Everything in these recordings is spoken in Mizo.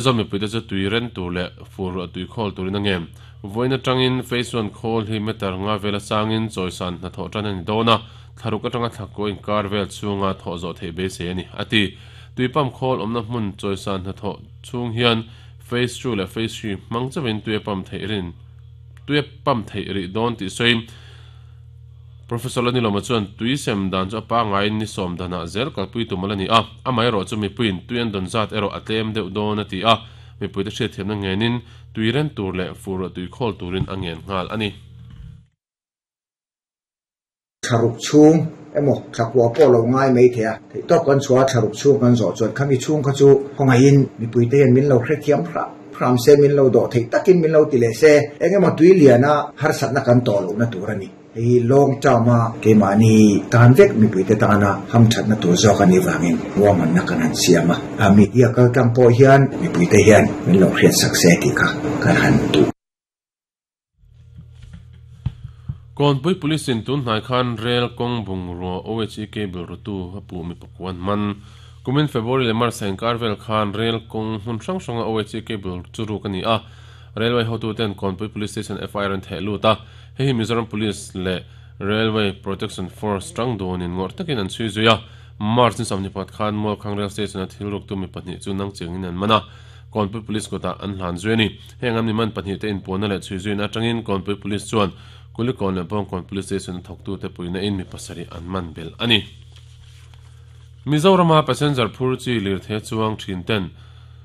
Mizo mipuite chu tui ren tur leh fur ruah tui khawl turin a ngem. Vawiin atangin Phase One khawl hi meter nga vela sangin chawisan hnathawh tan a ni dawn a, thlaruk atanga thlakua inkar vel chhunga thawh zawh theih beisei a ni, a ti. Tui pump khawl awmna hmun chawisan hnathawh chhung hian Phase Two leh Phase Three hmang chauhin tui a pump theih rin tui a pump theih rih dawn tih sawiin Professor Lanilawma chuan tui sem dan chu a pangaiin ni sawm danah zel kalpui tum ala ni a, amaherawh chu mipuiin tui an dawn zat erawh a tlem deuh dawn a ti a, mipuite hriatthiamna ngenin tui ren tur leh fur ruah tui khawl turin a ngen nghal a ni. Thlaruk chhung emaw thlakua pawh lo ngai mai thei a, theihtawp kan chhuah a thlaruk chhung kan zawh chuan khami chhung kha chu khawngaihin mipuite hian min lo hrethiam hrah hram se, min lo dawh theih takin min lo ti leh se, eng emaw tui liana harsatna kan tawh lohna tur a ni. Hei hi long term a keimahni tan vek mipuite tana hamthatna tur zawk a nih vangin ruahmanna kan han siam a, a media kaltlang pawh hian mipuite hian min lo hriatsak se tih kha kan han duh. Kawnpui Police in tun hnai khan rel kawng bungrua OHE cable rutu a puh mi pakua an man. Kumin February leh March a inkar vel khan rel kawng hmun hrang hranga OHE cable chu ruk a ni a, Railway hotuten Kawnpui Police Station FIR an theh lut a, hei hi Mizoram Police leh Railway Protection Force tang dunin ngawrh takin an chhui zui a. March ni 24 khan Mualkhang Rail Station a thil ruktu mi pahnih chu nang chengin an man a. Kawnpui Police kutah an hlan zui a ni. Heng an miman pahnihte inpuanna leh chhui zuina atangin Kawnpui Police chuan Kulikawn leh Bawngkawn Police Station a thawktute puihna in mi pasarih an man belh a ni. Mizorama passenger phur chi lirthei chuang thin ten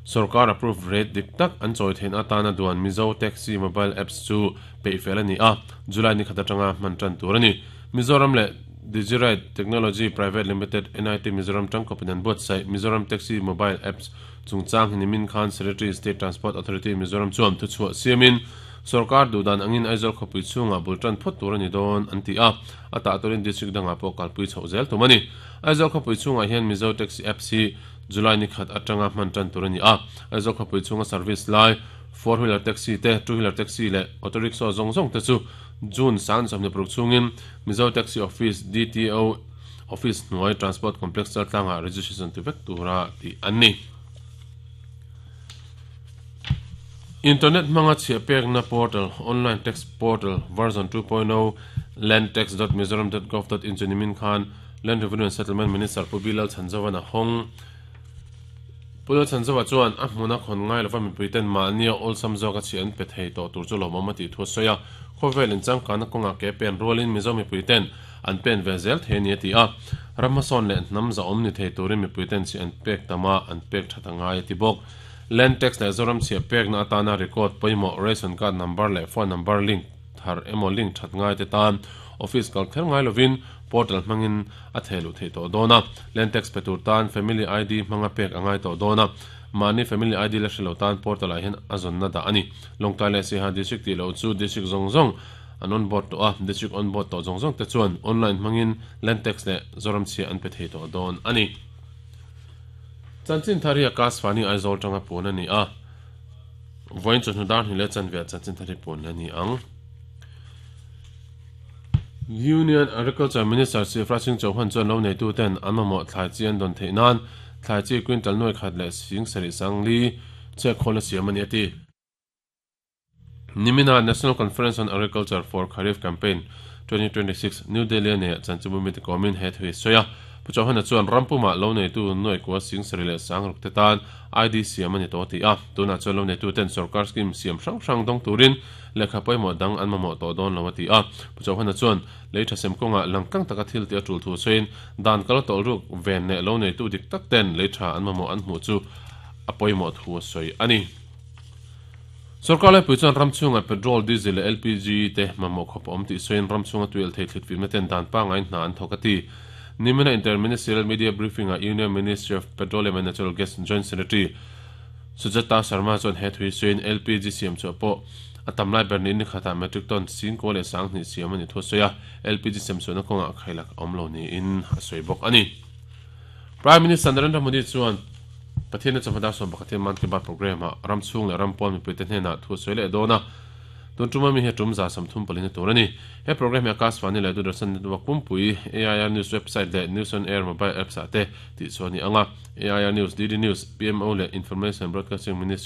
sorkar approved rate dik tak an chawi theihna atana duan Mizo Taxi Mobile Apps chu peih fel a ni a, July ni khat atanga hman tan tur a ni. Mizoram leh Digiride Technology Private Limited, NIT Mizoram tangkawpin an buatsaih Mizoram Taxi Mobile Apps Chungchang hi nimin khan Secretary State Transport Authority Mizoram chuan thuchhuah siamin sorkar duhdan angin Aizawl khawpui chhungah bul tan phawt tur a ni dawn an ti a, a tah turin district dangah pawh kalpui chhoh zel tum a ni. Aizawl khawpui chhungah hian Mizo Taxi Apps hi July ni khat atanga hman tan tur a ni a, Aizawl khawpui chhunga service lai four wheeler taxi te, two wheeler taxi leh auto rickshaw zawng zawng te chu June sang 26 chhungin Mizo Taxi Office, DTO, Office hnuai Transport Complex Chaltlangah registration ti vek tura tih an ni. Internet hmanga chhiah pekna portal, Online Tax Portal version 2.0, landtax.mizoram.gov.in chu nimin khan Land Revenue and Settlement Minister Pu Bilal Chhanzovan a hawng. Pu Lal Chhanzova chuan a hmuna khawn ngai lova mipuiten mahnia awlsam zawka chhiah an pe thei tawh tur chu lawmawm a tih thu a sawi a. Khawvel inchangkanna kawngah ke pen rualin Mizo mipuiten An pen ve zel thei a ni a ti a, ram hmasawn leh hnam zahawm ni thei turin mipuiten chhiah an pek tam a, an pek that a ngai a ti bawk. Land tax leh Zoram chhiah pekna atana record pawimawh ration card number leh phone number link thar emaw link that ngai te tan office kal kher ngai lovin portal hmangin a theh luh theih tawh dawn a, land tax pe tur tan family ID hmanga pek a ngai tawh dawn a, mahni family ID la hre lo tan portal ah hian a zawnna dah a ni. Lawngtlai leh Siaha district tih loh chu district zawng zawng An on board tawh a, district on board tawh zawng zawng te chuan online hmangin land tax leh Zoram chhia an pe thei tawh dawn a ni. Chanchin thar hi Akash Fani Aizawl tanga puan a ni a, vawiin chawhnu dar hnih leh chanve ah chanchin thar hi puan la ni ang. Union Agriculture Minister Shivraj Singh Chauhan chuan lo neitu ten an mamawh thlai chi an dawn theih nan thlai chi quintal nuai khat leh sing sarih sang li chhiat khawl a siam a ni a ti. Nimina National Conference on Agriculture for Kharif Campaign 2026, New Delhi-a neihah chanchinbu mite kawmin he thu hi sawi a. Pu Chauhana chuan ram pumah lo neitu nuaikua singsarih leh sangruk te tan ID siam a ni tawh a ti a. Tunah chuan lo neitu ten sorkar scheme siam hrang hrang dawng turin lehkha pawimawh dang an mamawh tawh dawn lo a ti a. Pu Chauhana chuan lei tha sem kawngah langtlang taka thil tih a tul thu sawiin dan kal tawlhruk ven leh lo neitu dik tak ten lei tha an mamawh an hmuh chu a pawimawh thu a sawi a ni. Sorkar laipui chuan ram chhungah petrol, diesel leh LPG te mamawh khawp a awm tih sawiin ram chhunga tuialh thei thlit fimna ten dan pangaiin hna an thawk a ti. Nimina Inter-Ministerial Media Briefing-ah Union Ministry of Petroleum and Natural Gas Joint Secretary Sujata Sharma chuan he thui sawiin LPG siam chhuah pawh a tam lai ber niin ni khatah metric ton singkaw leh sanghnih siam a ni thu a sawi a, LPG siam chhuahna kawngah khailak a awm lo niin a sawi bawk a ni. Prime Minister Narendra Modi chuan Pathianna chawhma dar 11 Mann Ki Baat programme-ah ram chhung leh ram pawn mipuite hnenah thu a sawi leh dawn a. Tun tuma mi hi tum 134 na tur ani. He program hi Akashvani leh Doordarshan network pumpui, AIR News website leh News on Air mobile apps ah te tih chhuah a ni ang a. AIR News, DD News, PMO leh Information Broadcasting Ministry.